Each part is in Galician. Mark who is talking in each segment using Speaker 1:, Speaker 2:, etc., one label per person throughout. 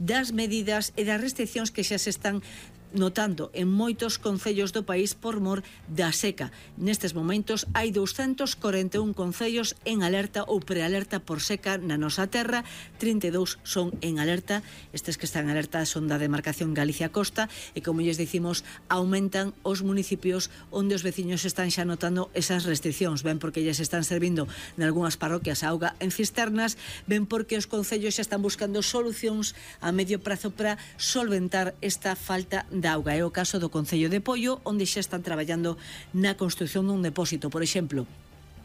Speaker 1: das medidas e das restriccións que xa se están notando en moitos concellos do país por mor da seca. Nestes momentos hai 241 concellos en alerta ou prealerta por seca na nosa terra, 32 son en alerta. Estes que están en alerta son da demarcación Galicia-Costa e, como lles dicimos, aumentan os municipios onde os veciños están xa notando esas restriccións, ben porque lles están servindo nalgúnas parroquias a auga en cisternas, ben porque os concellos xa están buscando solucións a medio prazo para solventar esta falta de auga. É o caso do Concello de Poio, onde xa están traballando na construción dun depósito, por exemplo,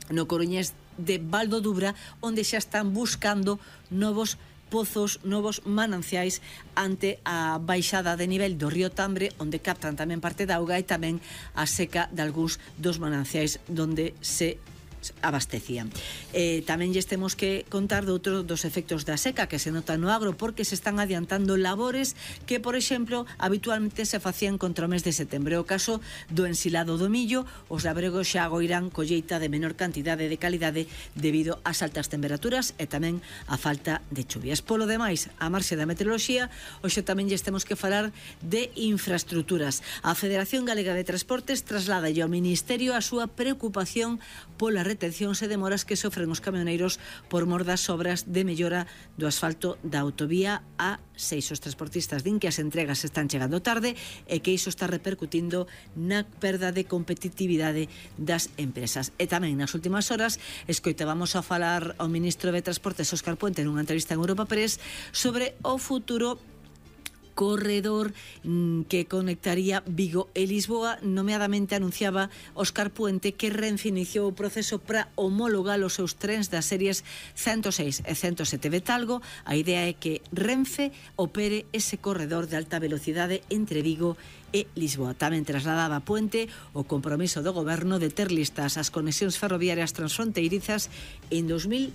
Speaker 1: no Coruñés de Val do Dubra, onde xa están buscando novos pozos, novos mananciais ante a baixada de nivel do río Tambre, onde captan tamén parte da auga, e tamén a seca de algúns dos mananciais donde se abastecían. Tamén lles temos que contar de outro dos efectos da seca que se nota no agro, porque se están adiantando labores que, por exemplo, habitualmente se facían contra o mes de setembro. O caso do ensilado do millo, os labregos xa agoirán colleita de menor cantidade de calidade debido ás altas temperaturas e tamén a falta de chuvias. Polo demais, a marxe da meteoroloxía, hoxe tamén lles temos que falar de infraestructuras. A Federación Galega de Transportes traslada ao Ministerio a súa preocupación pola retencións e demoras que sofren os camioneiros por mor das obras de mellora do asfalto da autovía A6. Os transportistas din que as entregas están chegando tarde e que iso está repercutindo na perda de competitividade das empresas. E tamén nas últimas horas escoitábamos a falar ao ministro de Transportes, Óscar Puente, nunha entrevista en Europa Press sobre o futuro corredor que conectaría Vigo e Lisboa. Nomeadamente anunciaba Óscar Puente que Renfe iniciou o proceso para homologar os seus trens das series 106 e 107 de Talgo. A idea é que Renfe opere ese corredor de alta velocidade entre Vigo e Lisboa. Tamén trasladaba Puente o compromiso do goberno de ter listas as conexións ferroviarias transfronteirizas en 2030,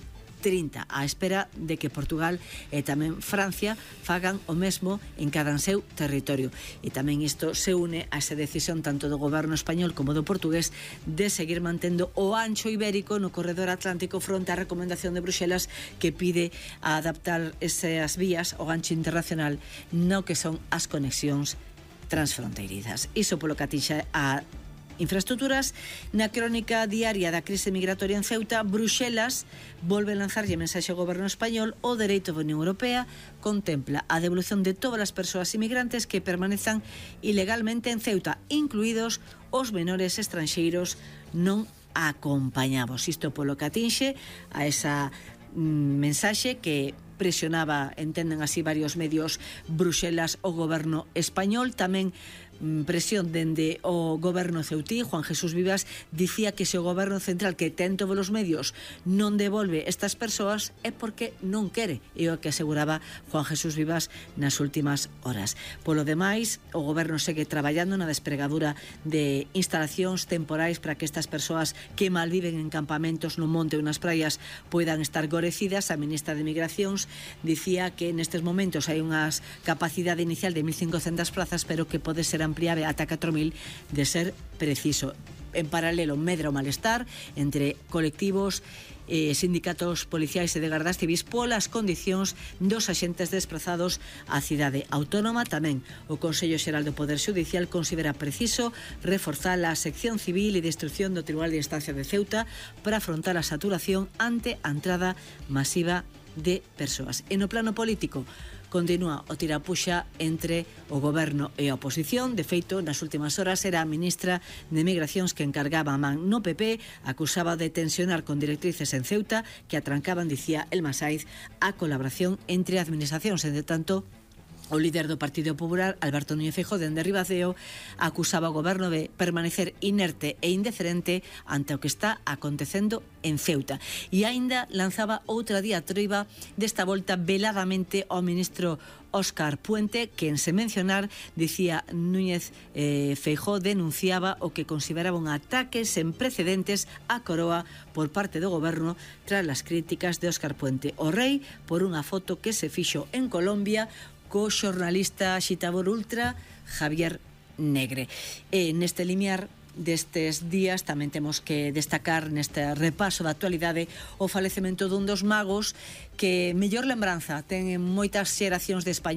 Speaker 1: á espera de que Portugal e tamén Francia fagan o mesmo en cada seu territorio. E tamén isto se une a esa decisión tanto do goberno español como do portugués de seguir mantendo o ancho ibérico no corredor atlántico fronte á recomendación de Bruxelas, que pide a adaptar esas vías ao ancho internacional no que son as conexións transfronteirizas. Iso polo que atinxe a infraestructuras. Na crónica diaria da crise migratoria en Ceuta, Bruxelas volve a lanzarlle mensaxe ao goberno español. O dereito da Unión Europea contempla a devolución de todas as persoas inmigrantes que permanezan ilegalmente en Ceuta, incluídos os menores estranxeiros non acompañados. Isto polo que atinxe a esa mensaxe que presionaba, entenden así varios medios, Bruxelas o goberno español. Tamén presión dende o goberno ceutí. Juan Jesús Vivas dicía que se o goberno central, que ten todos os medios, non devolve estas persoas é porque non quere, é o que aseguraba Juan Jesús Vivas nas últimas horas. Polo demais, o goberno segue traballando na despregadura de instalacións temporais para que estas persoas que malviven en campamentos no monte ou nas praias poidan estar gorecidas. A ministra de Migracións dicía que nestes momentos hai unha capacidade inicial de 1.500 plazas, pero que pode ser ampliable ata 4.000 de ser preciso. En paralelo, medra o malestar entre colectivos, sindicatos policiais e de gardas civis polas condicións dos axentes desplazados á cidade autónoma. Tamén o Consello Xeral do Poder Xudicial considera preciso reforzar a sección civil e de instrucción do Tribunal de Instancia de Ceuta para afrontar a saturación ante a entrada masiva de persoas. E no plano político, continúa o tirapuxa entre o goberno e a oposición. De feito, nas últimas horas era a ministra de Migracións que encargaba a man no PP, acusaba de tensionar con directrices en Ceuta que atrancaban, dicía Elma Saiz, a colaboración entre administracións. Entre tanto, o líder do Partido Popular, Alberto Núñez Feijóo, dende Ribadeo, acusaba o goberno de permanecer inerte e indiferente ante o que está acontecendo en Ceuta. E aínda lanzaba outra diatriba, desta volta veladamente ao ministro Óscar Puente, que en se mencionar, dicía Núñez Feijóo, denunciaba o que consideraba un ataque sen precedentes á coroa por parte do goberno tras as críticas de Óscar Puente o rei por unha foto que se fixo en Colombia co xornalista xitador ultra Javier Negre. E neste limiar destes días tamén temos que destacar neste repaso da actualidade o falecemento dun dos magos que mellor lembranza ten en moitas xeracións de España.